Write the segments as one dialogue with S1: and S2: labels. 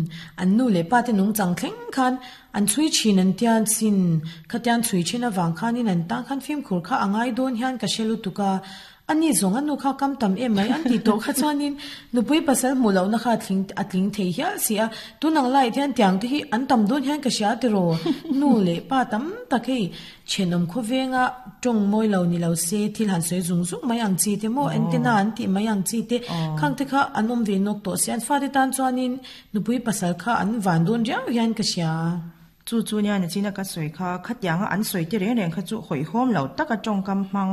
S1: Umm, an nu leh pa te nungchang thleng khan an chhui thin an tia sin, khatiang chhui thin avang khanin an tan khan fimkhur kha a ngai dawn hian ka hre lutuk a, a ni zawng a nu kha kam tam em mai an tih tawh kha chuanin nupui pasal hmuh lohna kha a tling thei hial si a, tun ang laiah hian tiang te hi an tam dawn hian ka hria tiraw, nu leh pa tam tak hei Thenawm khawvenga tawng mawi lo ni lo se thil han sawi zung zung mai ang chi te maw antenna an tih mai ang chi te khang te kha an awm ve nawk tawh si an fate tan chuanin nupui pasal kha an van dawn riau hian ka hria.
S2: Chu chu nia nachina ka sawi kha khatianga an sawi te reng reng kha chu hawihhawm lo taka tawngkam hmang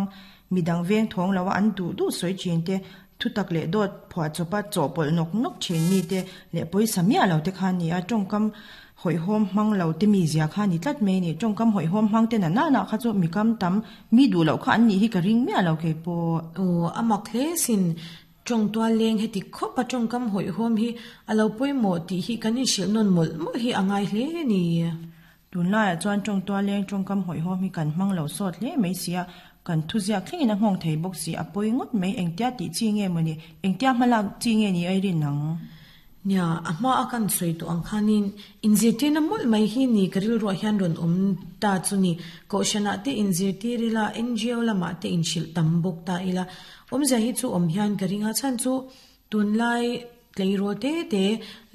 S2: midang veng thawng lo a an duh duh sawi thin te thutak leh dawt phuahchawpa chawhpawlh nawk nawk thin mi te leh pawisa miah lo te kha a ni a tawngkam Hawihhawm hmang lo te mi zia kha a ni tlat mai a ni. Tawngkam hawihhawm hmang te na nana kha chu mi kam tam, mi duh loh kha an nih hi ka ring miah lo kei pawh.
S1: Aw, a mak hle sin. Tawngtual leng heti khawp a tawngkam hawihhawm hi a lo pawimawh tih hi kan inhrilh nawn mawlh mawlh hi a ngai hle a ni.
S2: Tunlaiah chuan tawngtual leng tawngkam hawihhawm hi kan hmang lo sawt hle mai sia, kan thuziak thlengin a nghawng thei bawk si, a pawi ngawt mai. Engtia tih chi nge mawni? Engtia hmalak chi nge ni a i rin ang?
S1: Nia, a hma a kan sawi tawh ang khanin inzirtirna mawlh mai hi ni ka rilruah hian rawn awm ta chu ni. Kohhranah te inzirtir ila, NGO lamah te inhrilh tam bawk ta ila. Awmzia hi chu awm hian ka ring a, chhan chu tunlai tleirawl te te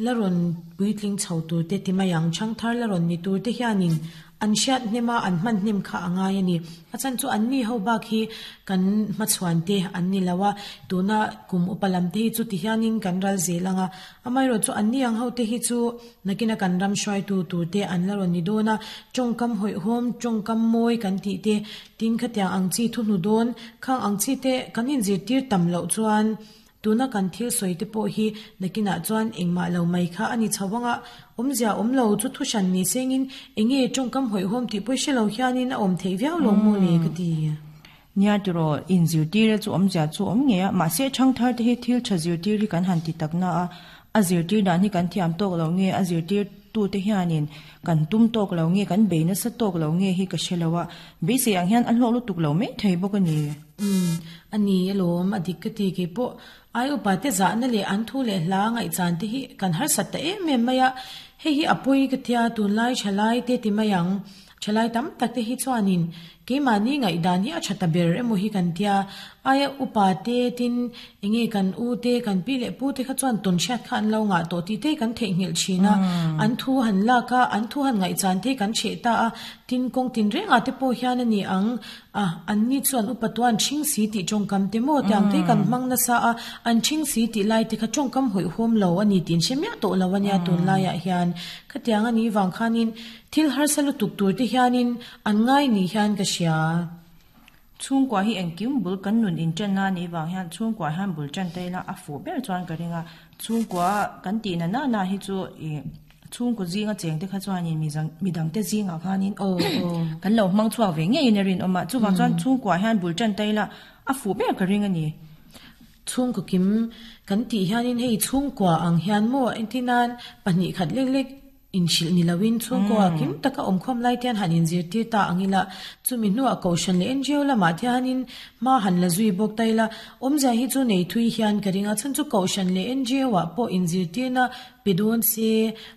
S1: la rawn puitling chho tur te ti mai ang, chhangthar la rawn ni tur te hianin An hriat hnem a, an hman hnem kha a ngai a ni. A chhan chu anni ho bak hi kan hmachhuan te an ni lo a, tuna kum upa lam te hi chu ti hianin kan ral zel ang a. Amaherawh chu anni ang ho te hi chu nakina kan ram hruaitu tur te an la rawn ni dawn a, tawngkam hawihhawm, tawngkam mawi kan tih te, tin khatiang ang chi thuhnu dawn, khang ang chi te kan inzirtir tam loh chuan Tuna kan thil sawi te pawh hi nakinah chuan engmah lo mai kha a ni chho ang a, awmzia awm lo chu thu hran ni sengin enge tawngkam hawihhawm tih pawh hre lo hianin a awm theih viau lo maw le ka ti.
S2: Nia tiraw, inzirtir chu awmzia chu awm ngei a, mahse thangthar te hi thil tha zirtir hi kan han ti tak na a, a zirtir dan hi kan thiam tawk lo nge, a zirtir tute hianin kan tum tawk lo nge, kan bei nasa tawk lo nge hi ka hre lo a, beisei ang hian a hlawk lutuk lo mai thei bawk a ni.
S1: Umm, a ni alawm, a dik ka ti kei pawh. Ai upa te zahna leh an thu leh hla ngaihchan te hi kan harsat ta em em mai a, hei hi a pawi ka tia tunlai thalai te ti mai ang. Thalai tam tak te hi chuanin keimahni ngaihdan hi a tha ta ber emaw hi kan tia, aia upa te tin enge kan u te kan pi leh pu te kha chuan tawn hriat kha an lo ngah tawh tih te hi kan theihnghilh thin a, an thu han lak a, an thu han ngaihchan te hi kan hreh ta a, tin kawng tinrengah te pawh hian a ni ang. A, anni chuan upa tuan ṭhing si tih ṭawngkam te maw tiang te kan hmang nasa a, an ṭhing si tih lai te kha ṭawngkam hawihhawm lo a ni tih an hre miah tawh lo a nia tunlaiah hian. Khatiang a nih vang khanin thil harsa lutuk tur te hianin an ngai ni hian ka hria.
S2: Chhungkua hi engkim bul kan nun inṭanna a nih vang hian chhungkua hian bul ṭan ta ila a fuh ber chuan ka ring a, chhungkua kan tih na na na hi chu ih. Chhungkaw zinga chengte kha chuanin midangte zingah khanin kan lo hmang chhuak ve ngeiin a rinawm a, chuvang chuan chhungkuah hian bul tan ta ila a fuh ber ka ring a ni.
S1: Chhungkaw kim kan tih hianin hei chhungkua ang hian maw engtinan pahnih khat lek lek inhrilh ni loin chhungkua kim taka awmkhawm lai te hian han inzirtir ta ang ila, chumi hnuah Kohhran leh NGO lamah te hianin hma han la zui bawk ta ila, awmzia hi chu nei thui hian ka ring a, chhan chu Kohhran leh NGO ah pawh inzirtirna Pe dawn se,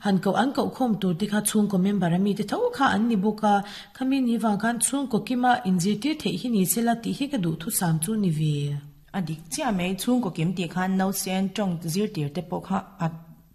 S1: han koh an koh khawm tur te kha chhungkaw member a mite tho kha an ni bawk a, khami ni vang khan chhungkaw kima inzirtir theih hi ni se la tih hi ka duh thusam chu ni ve.
S2: A dik chiah mai, chhungkaw kim tih khan nausen tawng zirtir te pawh kha a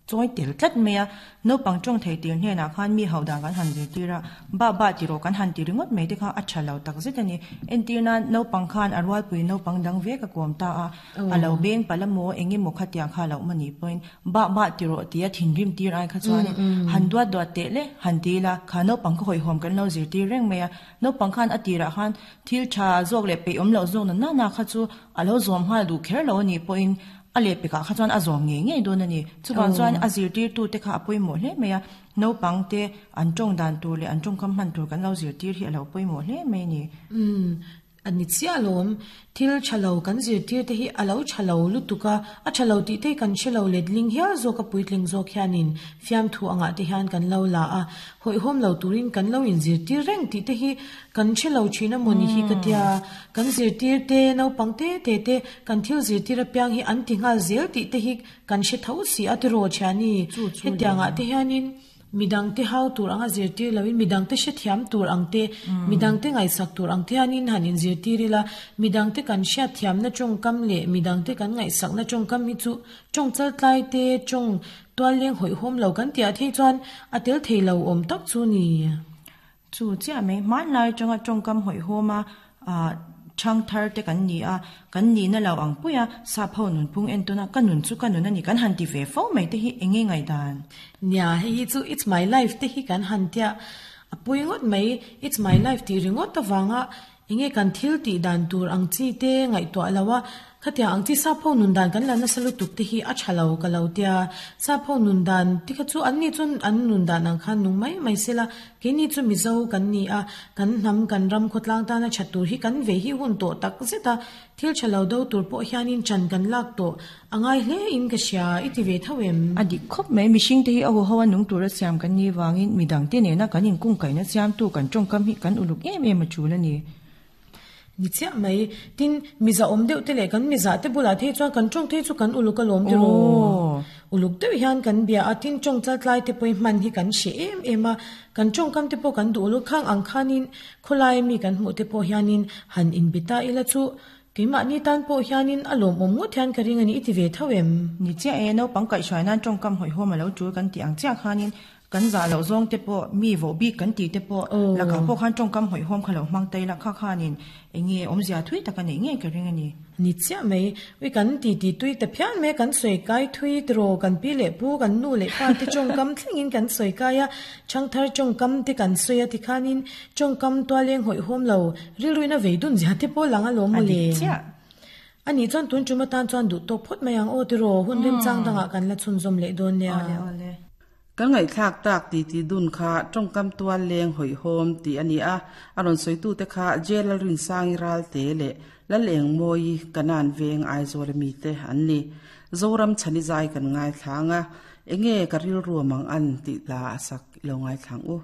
S2: chawi tel tlat mai a, naupang tawng thei tir hnenah khan mi hauh dan kan han zirtir a, bah bah ti rawh kan han ti ringawt mai te kha a tha lo tak zet a ni. Entir nan naupang khan a rualpui naupang dang ve ka kawm ta a, A lo beng palh a maw, eng emaw khatiang kha a loh maw nih pawhin bah bah ti rawh tia thinrim tir ai kha chuanin han duat duat teh le, han ti ila, kha naupang kha hawihhawm kan lo zirtir reng mai a, naupang khan a tirah khan thil tha zawk leh peihawm loh zawk na nana kha chu a lo zawm nghal duh kher lo a nih pawhin a lehpekah kha chuan a zawm ngei ngei dawn a ni. Chuvang chuan a zirtirtute kha a pawimawh hle mai a, naupang te an tawng dan tur leh an tawngkam hman tur kan lo zirtir hi a lo pawimawh hle mai a ni.
S1: A ni chiah alawm, thil tha lo kan zirtir te hi a lo tha lo lutuk a, a tha lo tih te hi kan hre lo letling hial zawk a puitling zawk hianin fiamthu angah te hian kan lo la a, hawihhawm lo turin kan lo inzirtir reng tih te hi kan hre lo thin a maw ni hi ka tia, kan zirtir te naupang te te te kan thil zirtir apiang hi an ti nghal zel tih te hi kan hre tho si a tiraw thiani, hetiangah te hianin. Midangte hau tur anga zirtir loin midangte hrethiam tur ang te, midangte ngaihsak tur ang te hianin han inzirtir ila, midangte kan hriatthiamna tawngkam leh midangte kan ngaihsakna tawngkam hi chu tawng chaltlai te, tawng tualleng hawihhawm lo kan tih ah thei chuan a tel thei lo awm tak chu ni.
S2: Chu chiah mai, hmanlai atanga tawngkam hawihhawm a chhang thar te kan ni a, kan nihna lo ang pui a, sap ho nunphung entawn a, ka nun chu ka nun a ni kan han ti ve fo mai te hi eng nge ngaihdan?
S1: Nia, hei hi chu it's my life te hi kan han tia a pui ngawt mai, it's my life tih ringawt avanga eng nge kan thil tih dan tur ang chi te ngaihtuah lo a, Khatiang ang chi sap ho nun dan kan la nasa lutuk te hi a tha lo ka lo tia. Sap ho nun dan te kha chu an ni chuan an nun dan ang khan nung mai mai sela, keini chu Mizo kan ni a, kan hnam kan ram khawtlang tana tha tur hi kan ve hi hun tawh tak zet a, thil tha lo do tur pawh hianin chan kan lak tawh a ngai hle in ka hria i ti ve tho em?
S2: A dik khawp mai, mihring te hi a huho a nung tura siam kan nih vangin midang te nena kan inkungkaihna siamtu kan tawngkam hi kan uluk em em a tul a ni.
S1: Ni chiah mai. Tin, miza awm deuh te leh kan miza te bulah te hi chuan kan tawng te hi chu kan uluk alawm tiraw. Uluk deuh hian kan bia a, tin tawng chaltlai te pawh hi hman hi kan hre em em a, kan tawngkam te pawh kan duh uluk khang ang khanin khawlai mi kan hmuh te pawh hianin han inbe ta ila chu keimahni tan pawh hianin a lawmawm ngawt hian ka ring a ni i ti ve tho em?
S2: Ni chiah e, naupang kaihhruai nan tawngkam hawihhawm a lo tul kan tih ang chiah khanin Kan zah loh zawng te pawh, mi voh bik kan tih te pawh, lakah pawh khan tawngkam hawihhawm kha lo hmang ta ila kha khanin eng nge awmzia thui tak a neih ngei ka ring a ni.
S1: Ni chiah mai, ui kan ti ti tui ta phian mai a, kan sawi kai thui tiraw, kan pi leh pu, kan nu leh pa te tawngkam thlengin kan sawi kai a, thangthar tawngkam te kan sawi a tikhanin tawngkam tualeng hawihhawm lo rilruina vei dun zia te pawh lang alawm mawle.
S2: A dik chiah.
S1: A nih chuan tun tum atan chuan duh tawk phawt mai ang aw tiraw, hun remchang dangah kan la chhunzawm leh dawn nia.
S2: Awle awle.
S3: Kan ngaihthlak tak titi dun kha tawngkam tual leng hawihhawm tih a ni a, a rawn sawitute kha Jail Lalrinsangi Ralte leh Lalengmawi Kanan Veng Aizawl a mite an ni. Zoram chhani zai kan ngaithlang a, enge ka rilru mang an tih hla a sak i lo ngaithlang u.